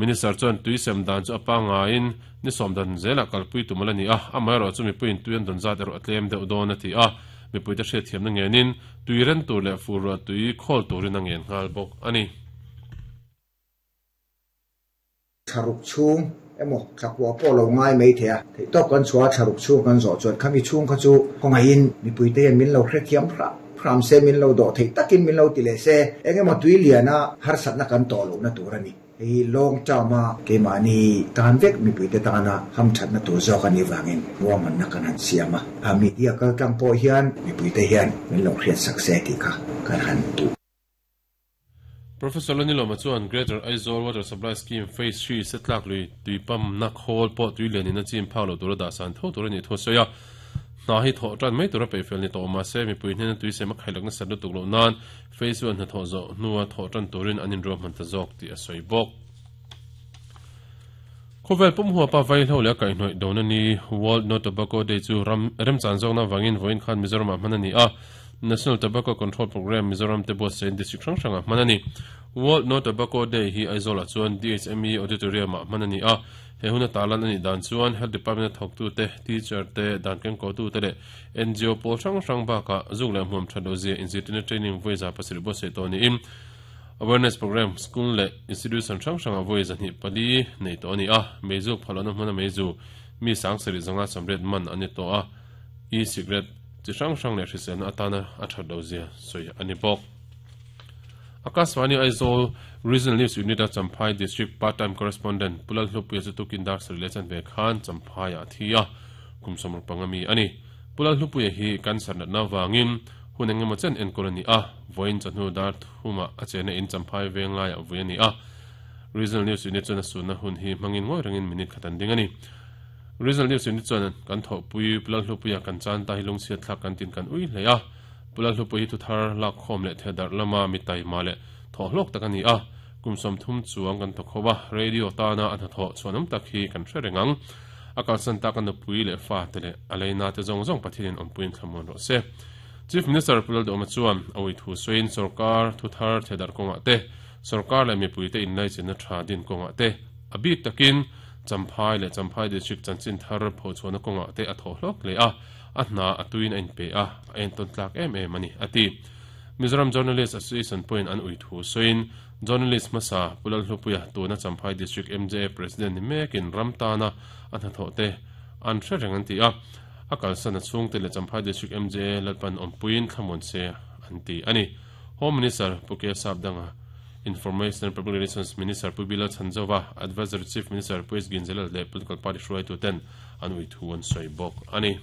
Minister chuan tui sem dan chu a pangaiin ni sawm dan zelah kalpui tum a la ni a, amaherawhchu mipuiin tui an dawn zat erawh a tlem deuh dawn a ti a, mipuite hriatthiamna ngenin tui ren tur leh fur ruah tui khawl turin a ngen nghal bawk a ni. Thlaruk chhung emaw thlakua pawh lo ngai mai thei a, theihtawp kan chhuah a thlaruk chhung kan zawh chuan khami chhung kha chu khawngaihin mipuite hian min lo hrethiam hram hram se, min lo dawh theih takin min lo ti leh se, eng emaw tui liana harsatna kan tawh lohna tur a ni. Hei hi long term a keimahni tan vek mipuite tana hamthatna tur zawk a nih vangin ruahmanna kan han siam a, a media kaltlang pawh hian mipuite hian min lo hriatsak se tih kha kan han duh. Professor Lanilawma chuan Greater Aizawl Water Supply Scheme Phase Three setlak lui tui pump-na khawl pawh tui lianin a chim phak loh tura dah san tho tur a nih thu a sawi a. Hna hi thawh tan mai tura peihfel ni tawh mahse mipui hnena tui sem a khailak nasat lutuk loh nan Phase One hnathawh zawh hnua thawh tan turin an inruahman ta zawk tih a sawi bawk. Khawvel pum huapa vaihlo leh a kaihhnawih dona ni World No Tobacco Day chu ram remchan zawkna avangin vawiin khan Mizoramah hman a ni a. National Tobacco Control Programme Mizoram te buatsain district hrang hrangah hman a ni. World No Tobacco Day hi Aizawlah chuan DHME Auditorium-ah hman a ni a. He huna tarlan a nih dan chuan Health Department-a thawktute, teacher te, dan kengkawhtute leh NGO pawl hrang hrang bakah zuk leh hmuam that lohzia inzirtirna training vawi 700 buatsaih tawh niin Awareness Programme School leh Institution hrang hrangah vawi 24 nei tawh a ni a, meizuk phalawhna hmuna meizu mi sangsarih zanga sawmriat man an ni tawh a, e-cigarette chi hrang hrang leh hriselna atana a that lohzia sawi a ni bawk. Akashvani Aizawl Regional News Unit-a Champhai District Part-time Correspondent Pu Lalhlupuia chu tukin dar sarih leh chanve khan Champhaiah a thi a, kum 65 mi a ni. Pu Lalhlupuia hi cancer natna avangin hun eng emaw chen enkawl a ni a, vawiin chawhnu dar thumah a chena in Champhai veng laiah vui a ni a. Regional News Unit chuan a sunna hun hi hmangin ngawi rengin minute khat an ding a ni. Regional News Unit chuan kan thawhpui Pu Lalhlupuia kan chan ta hi lungchhiat thlak kan tin kan ui hle a. Pu Lalhlupuia hi thuthar lakkhawm leh thehdarh lama mi taima leh thawhhlawk tak a ni a. Kum 30 chuang kan thawk ho a, radio tana a hnathawh chhuanawm tak hi kan hre reng ang. A kalsan tak a nupui leh fate leh a leina te zawng zawng Pathianin awmpuiin thlamuan rawh se. Chief Minister Pu Lalduhawma chuan a ui thu sawiin sorkar thuthar thehdarh kawngah te, sorkar leh mipuite inlaichinna tha din kawngah te, a bik takin Champhai leh Champhai District chanchin thar phochhuahna kawngah te a thawh hlawk hle a, a hna a tuiin a inpe a, a entawn tlak em em a ni, a ti. Mizoram Journalist Association pawhin an ui thu sawiin Journalist hmasa Pu Lalhlupuia tuna Champhai District MJA President ni mekin ram tana a hnathawh te an hre reng an ti a, a kalsan a chhungte leh Champhai District MJA Lalpan awmpuiin thlamuan se an ti a ni. Home Minister Pu K Sapdanga, Information and Public Relations Minister Pu Bilal Chhanzova, Advisory Chief Minister Pu S Ginzalal leh Political Party hruaituten an ui thu an sawi bawk a ni.